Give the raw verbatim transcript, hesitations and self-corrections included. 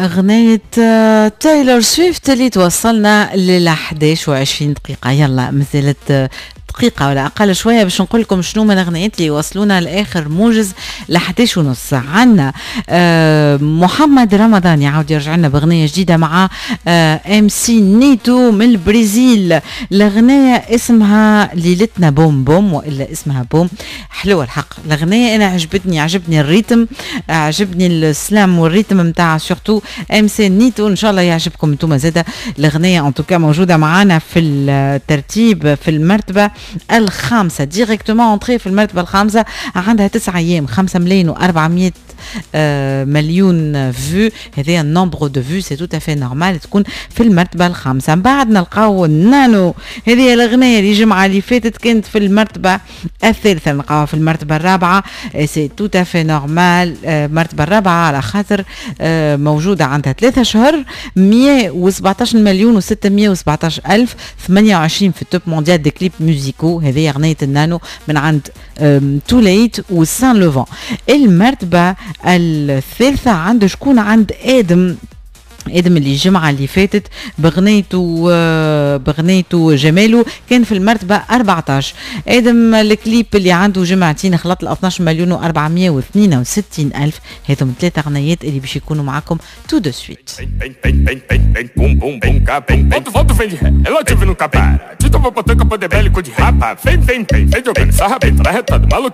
أغنية آه، تايلور سويفت اللي توصلنا لل إحداش وعشرين دقيقة. يلا، مازالت آه، دقيقة ولا أقل شوية باش نقول لكم شنو من الأغنيات اللي وصلونا لآخر موجز ل إحداش ونص. عنا آه، محمد رمضان يعاود يرجع لنا بأغنية جديدة مع MC نيتو من البرازيل. الأغنية اسمها ليلتنا بوم بوم وإلا اسمها بوم. حلوة الحق الأغنية، أنا عجبتني، عجبني ال rythme، عجبني ال slam وال rythme نتاع surtout MC نيتو. ان شاء الله يعجبكم انتم زاده الاغنيه. en tout cas موجودة معانا في الترتيب في المرتبة الخامسه، directement entrée في المرتبة الخامسه، عندها تسعة ايام، خمسة ملايين وأربعمية آه، مليون vues. هذا ال nombre de vues، c'est tout à fait normal تكون في المرتبة الخامسه. من بعد نلقاو نانو، هذه الاغنية اللي الجمعة اللي فاتت كانت في المرتبة الثالثه، نلقاوها في المرتبة الرابعه، c'est tout à fait normal المرتبة الرابعة على خاطر آه، موجودة عندها ثلاثة شهور، مية وسبعطاش مليون وستمية وسبعطاش الف، ثمانية وعشرين في ال top mondial des clips musicaux. هذه اغنية النانو من عند توليت وسان لوفون. المرتبة الثالثة عند شكون؟ عند ادم، ادم اللي الجمعة اللي فاتت بغنيته آه، بغنيته جماله كان في المرتبة أربعطاش. ادم الكليب اللي عنده جمعتين خلط ال اثناش مليون وأربعمية واثنين وستين الف. هذم ثلاثة اغنيات اللي باش يكونوا معكم tout de suite. Bum bum bum bum Volto, volto, vem de ré. Ela te nunca para. Tito, vou botar campo de bélico de rapa. Vem, vem, vem, vem jogando sarra bem, arretado, maluquinho.